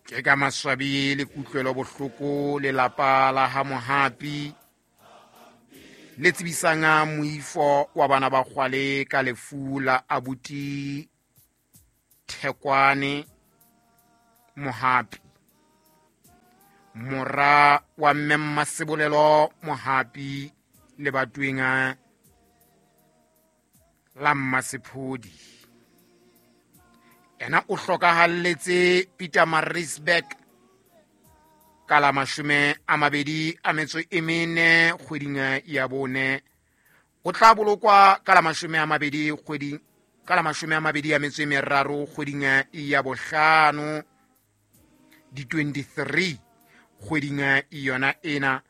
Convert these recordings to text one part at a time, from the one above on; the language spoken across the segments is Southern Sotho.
Ke ka maswabi le kutlwelo bohloko lelapa la ha Mohapi le tsebisang moifo wa bana ba kgwale ka lefu la abuti Thekwane Mohapi, mora wa mme Mmasebolelo Mohapi le batweng la Mmasephodi. Ena o hlokahalletse Pietermaritzburg ka la 24 kgweding ya 4. O tla bolokwa ka la 20 kgweding, ka la 23 kgweding ya 5, di 23 kgweding yona ena,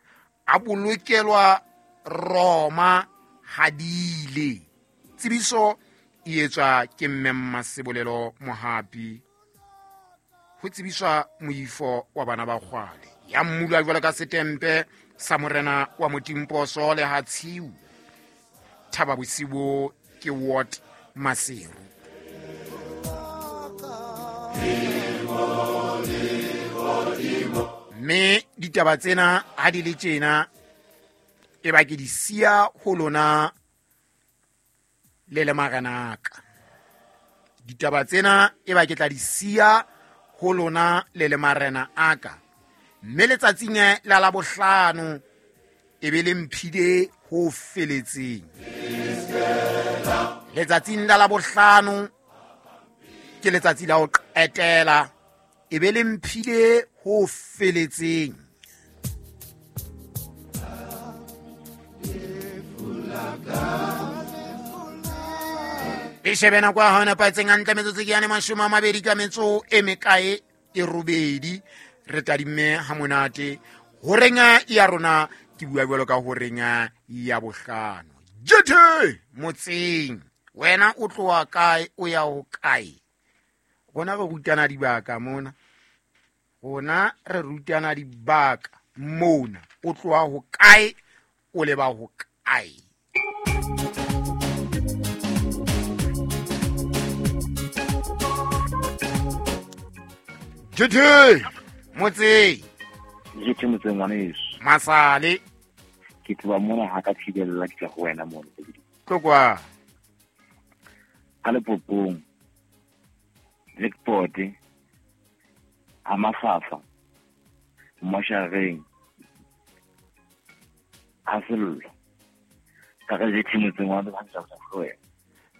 a bolokelwa Roma hadile. Tsebiso e etswa ke mme Mmasebolelo Mohapi. Ho tsebiswa moifo wa bana ba kgwale ya mmulwa jwalo ka setempe sa morena wa Motimposo le ha tshiu. Thaba bosibo ke Ward Maseru. Mme ditaba tsena ha di le tjena, e ba ke di siya ho lona le le marenaka. Ditaba tsena e ba ke tla di siya ho lona le le marena aka. Mme letsatsing la Labohlano e be le mphile ho feletseng. Letsatsing la Labohlano ke letsatsi la ho qetela, e be le mphile ho feletseng. E shebe nako ya hao e nepahetseng hantle, metsotso ke yane 20 ka metso e mekae e robedi. Re tadimme ha monate horeng ya rona, ke bua jwalo ka horeng ya bohlano. Jethe motseng, wena o tloha kae, o ya ho kae? Rona re rutana dibaka mona, rona re rutana dibaka mona. O tloha ho kae, o leba ho kae? Jethe motseng. Jethe motseng ngwaneso. Masale. Ke tloha mona ha ka thibella ke tla ho wena mona. Tlokwa. Ka Lepopong. Blackboard. Ha Mafafa. Moshareng. Ha Sello. Ka re Jethe motseng wa Lehantla ho wena.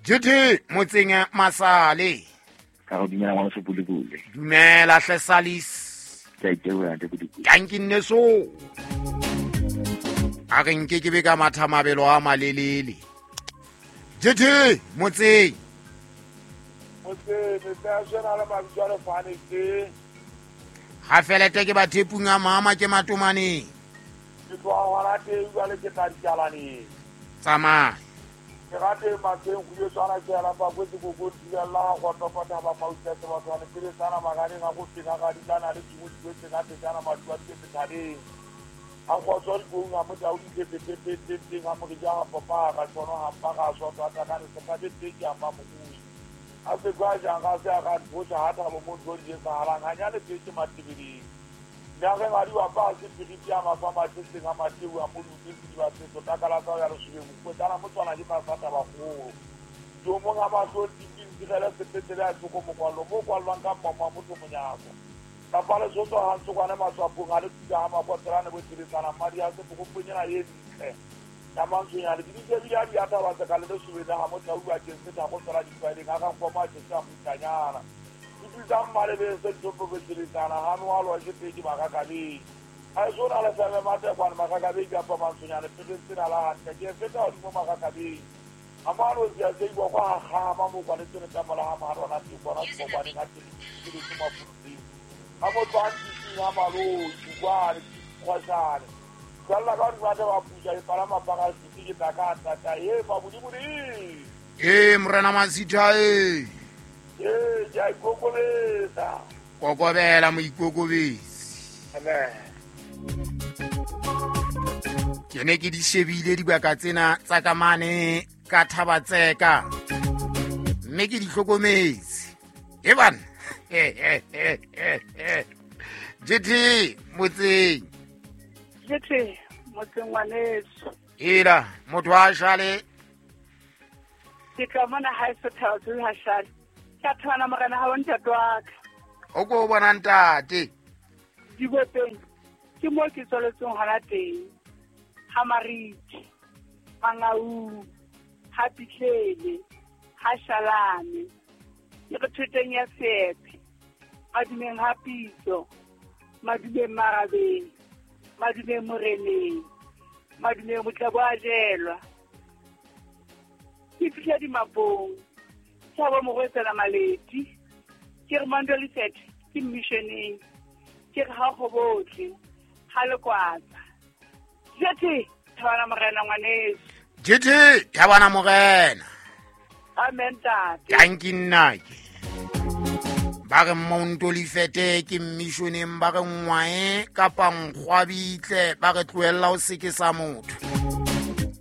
Jethe motseng Masale. Ka re dumela ngwana Sebulebule. Dumela hle Salis. Ke a iteboha, ntate Bodibodi. Tanki nneso. A re nke ke be ka matha mabelo a malelele. Jethe motseng. Motseng, metse ya sena le mabitso a lefane tse. Ha felete ke ba thepung a mama ke matomaneng. Ke tloha hona teng jwale ke tla dikalaneng. Tsamaya. Ke rate matsheng go ile tswana ke ela pa kwetse go go thibella ga go topota ba mauta se batho ba pele tsana maganeng a go fena ga dilana le tshimo di kwetse ka tsana mathu a tse thabeng. A go tswa di go nga mo tau di tse tse tse tse tse ga mo ja ga popa ga tshono ga pa ga so tsa ka re se ka tse ke a ma mo A se kwa jang ga se a ga nthosa ha thabo mo ntho di etsahalang, ha nyale tse ke matebeleng. Nna re ngadi wa pa se piriti ya mafa mathe seng a mateu a moluti se di ba se tota ka la tsa ya lesube mo tsana mo tswana ke mafata ba golo. Jo mong a mahlo tiping tirele sepetlele a tsoko mokwallo mo kwallwang ka mmamo wa motho monyako. Ka fa le sotso ha ntse kwane matswapong a le tuka ha makotelane bo tshebetsana madi a se pokoponyana ye ntle. Ya mantsonyane ke ditse bile a di ataba tse ka le lesube le ha motho a bua ke se tha go tswela difaeleng a ka nkoma a tshetse a mutanyana. Ke tsa mmalebeng se ntho bo tshebetsana ha no a lwa ke pedi makakabeng. A e sona le feme matekwane makakabeng kapa mantsonyane pele tsena la hantle ke feta hodimo makakabeng. A mano tse a tse kwa kwa ha ma mo kwa le tsene tsa mola ha ma rona tse kwa na kwa ne ka tse ke le tsuma futsi. A motho a ntse ha malo kwa le khwashane. Tsalla ka di batla ba pusa e palama para se ke tla ka tla ta e mabudibudi. E morena Masitha e. E ke a ikokobetsa. Kokobela moikokobetsi. Amen. Ke ne ke di shebile dibaka tsena tsa ka mane ka Thabatseka. Mme ke di hlokometse. E bana. JT motseng. JT motseng ngwaneso. Ela motho wa shale. Ke tla mona ha se thaba tse ha shale. Ka thana morena ha ntate wa ka. O go bona ntate. Dibopeng ke mo ke tswaletseng hona teng. Ha Mariti, Mangau, ha Pitlele, ha Shalane. Ke re thoteng ya Sepe. Madumeng ha Pitso, madumeng Marabeng, madumeng Moreneng, madumeng Motlabo a jelwa. Ke fihla dimapong, tshaba morwetsana Maleti, ke re Mandoliset ke missioneng, ke re ha go botle, ha lekwatsa. Jete thabana morena ngwaneso. Jete thabana morena. Amen tate. Tanki nnake. Ba re Montolifete ke missioneng, ba re ngwae kapa nkgwabitle, ba re tlohella o seke sa motho.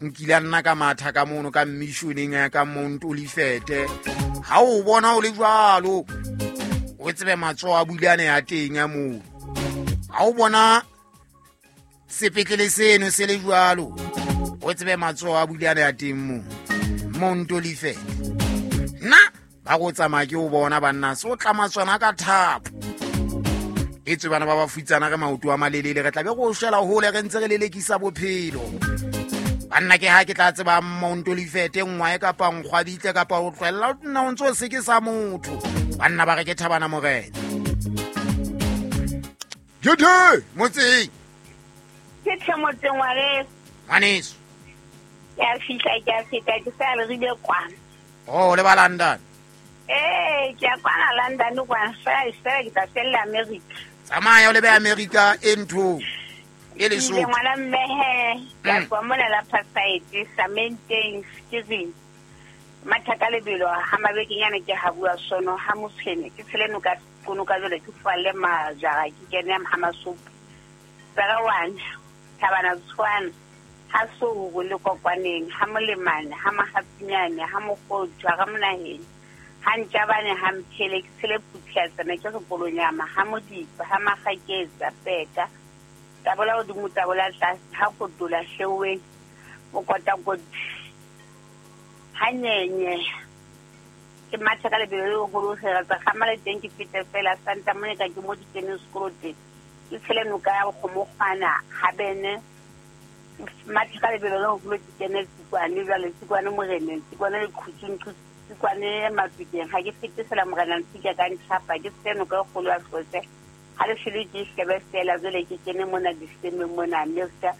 Nkile nna ka matha ka mono ka missioneng ka Montolifete. Ha o bona o le jwalo, o tsebe matsoho a bulane ya teng ya moo. Ha o bona sepetlele seno se le jwalo, o tsebe matsoho a bulane ya teng moo. Montolifete. Nna ba go tsamaya ke o bona banna se o tlama tsona ka thapo. E tswe bana ba ba futsana re maoto a malelele, re tla be go shela hole re ntse re lelekisa bophelo. Banna ke ha ke tla tseba Montolifete ngwae kapa nkgwabitle kapa o tlohella nna o ntse o seke sa motho. Banna ba re ke thabana morena. Jete motseng. Ke tle motseng ngwaneso. Ngwaneso. Ke a fihla ke a feta ke sa le rile kwana. Oh, le ba London. Ke a kwana London kwana fela ke tla fella America. Tsamaya o lebe America e ntho e le so. Ngwana mme he, ke a tswa mona la Paside, Samenteng, Skizing. Mathaka lebelo ha mabekenyana ke ha bua sono ha motshene ke tshele noka konoka jole ke falle majara ke kene ha masopo. Tsarawana, thabana tshwana. Ha so go le kokwaneng, ha molemane, ha mahapinyane, ha mogotjwa, ha monaheng. Ha ntjabane ha mphele ke tshele phuthia tsena ke sekolonyama, ha modipa, ha magaketsa peka. Tabola godimo tabola tlase, ha kotola hleweng, mokotakoti. Ha nyenye. Ke matha ka lebelo le leholo hela tsa kgamale teng ke fete fela Santa Monica ke mo di keneng sekolo teng. Ke tshele noka ya Kgomokgwana ha bene. Matha ka lebelo le leholo ke kene Tsikwane jwale, Tsikwane moreneng, Tsikwane lekhutsung, Tsikwane mafikeng. Ha ke fete fela morena Ntsika ka ntjhapa, ke tshele noka e kgolo ya Hlotse. Ha le shele ke shebe fela jwale ke kene mona disemeng mona Amerika.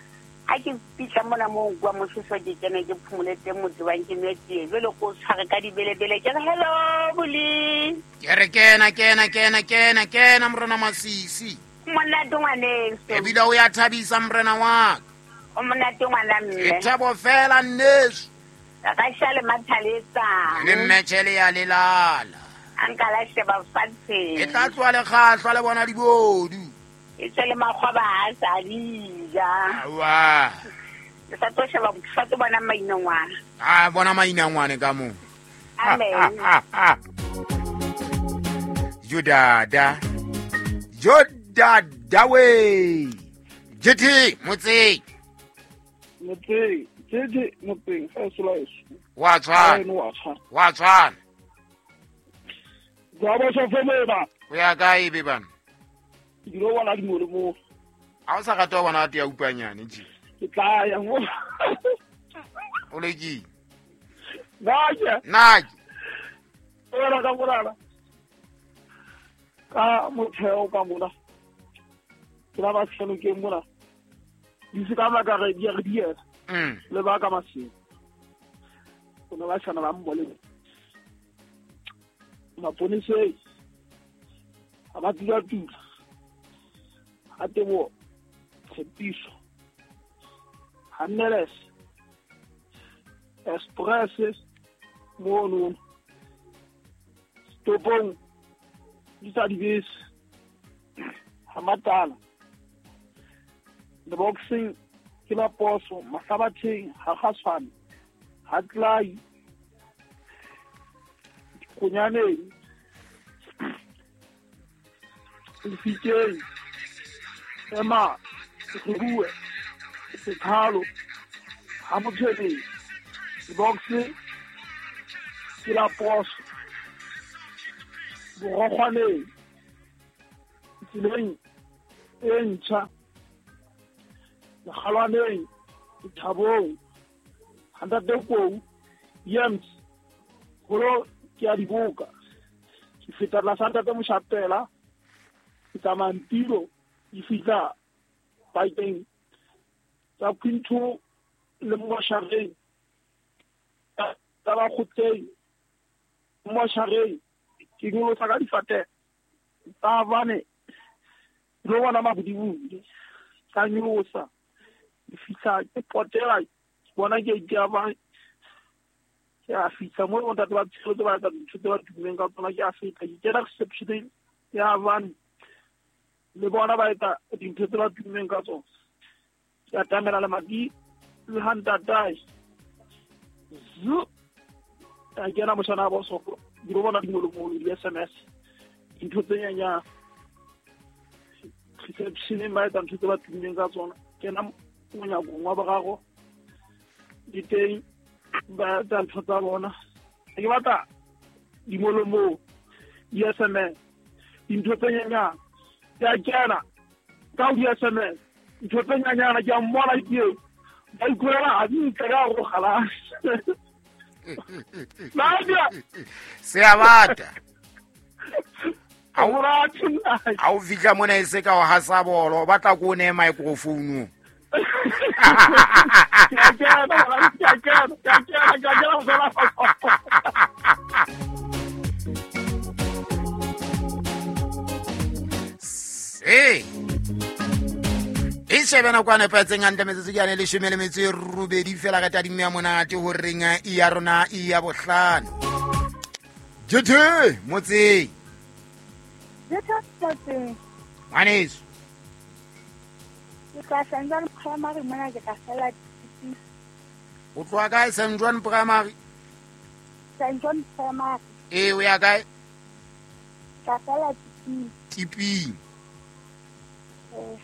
Ha ke fihla mona mo kwa moshoso ke kene ke phomole teng motho wa nke nwe tee. Jwale ko tshware ka dibelebele ke re hello Boli. Ke re kena kena kena kena kena morena Masisi. Monate ngwaneso. Ebile o ya thabisa morena wa ka. O monate ngwana mme. E thabo fela nneso. Ka shale mathaletsa. Le mmetjhele ya lelala. A nka la sheba fatshe. E tla tloha le kgahlwa le bona dibodu. E tswe le makgoba a sa di ja. Awa. Ke sa tlo sheba, ke sa tlo bona mainongwana. A bona mainongwane ka moo. Amen. Jodada. Jodada we. Jete motseng. Motseng, jete motseng fa slice. Wa tshwana. Wa tshwana. Ba ba sa fomela. O ya kae be bana? Ke dilo bona dimolo mo. Ha o sa rata bona ate ya upanyane je. Ke tla ya mo. O le ke? Naje. Naje. Ora ka morala. Ka motheo ka mona. Ke la ba tshelo ke mona. Di se ka ba ka re di re di. Le ba ka masimo. Bona ba tshwana ba mbole. Maponese a ba tula tula. A tebo tshepiso. Hanneles. Express mono. Stopong. Di tsa dibese. Ha matala. The boxing ke la poso mahlabatheng ha kgaswane. Ha tlai. Konyaneng. Lefikeng. Ema re bue sethalo ha motshweleng box ke la poso borokgwaneng tseleng e ntjha lekgalwaneng thabong hantate kou yams holo ke a diboka ke feta tlasa ntate Moshapela ke tsamaya ntilo ke fihla pakeng tsa Quinto le Moshareng tsa Bakgotleng Moshareng ke nyolosa ka difate tsa bane lo bona mabodibodi ka nyolosa ke fihla ke potela bona ke ke ba ke a fihla mo ntate ba tshelo ba etsa dintho tse ba tummeng ka tsona ke a fihla ke kena reception ya bane le bona ba etsa dintho tse ba tummeng ka tsona ke atamela lemati le ha ntatae zu a kena moshana wa bosoko di bona dingolomolo di-SMS dintho tse nyanyana receptioneng ba etsa ntho tse ba tummeng ka tsona kena monyakong wa boraro di teng ba etsa ntho tsa bona ke batla dingolomolo di-SMS dintho tse nyanyana ke a kena ka ho di-SMS ntho tse nyanyana ke a mmona ke ba ikurela hantle ka go galase Nadia se a bata a o fihla mona e se ka o hasa bolo o batla ko o neye microphone. Se e shebe nako a nepahetseng hantle metsotso ke yane leshome le metso e robedi fela re tadimo ya monate horeng ya rona ya bohlano. Jethe motseng. Jethe motseng. Ngwaneso. Ke tla St. John Primary mona ke tla fela tiping. O tloha kae St. John Primary? St. John Primary. Ee, o ya kae? Tla fela tiping. Tiping. Eh.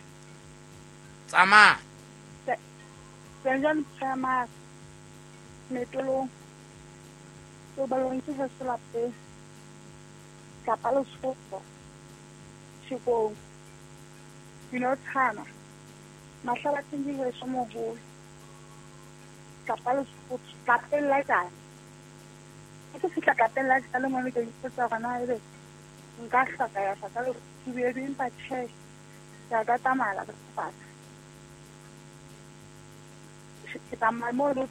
Tsamaya. St. John Primary. Metolong. Ke balong ke heso lapeng. Kapa Lesotho. Tshikong. Dinotshana. Mahlabatheng ke heso moholo. Kapa Lesotho. Lapeng la jana. Ke fihla lapeng la jana le mone ke ipotsa hore na ebe nka hloka ya hloka le empa tjhe. Ke a ka tsamaya ka fata. Ke tsamaya mo le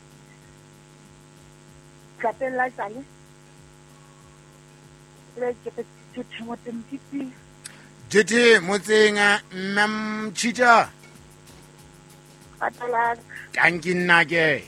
lapeng la jale. Le ke ke motseng tiping. Jethe motseng mme Mchita. Patala. Tanki nna ke.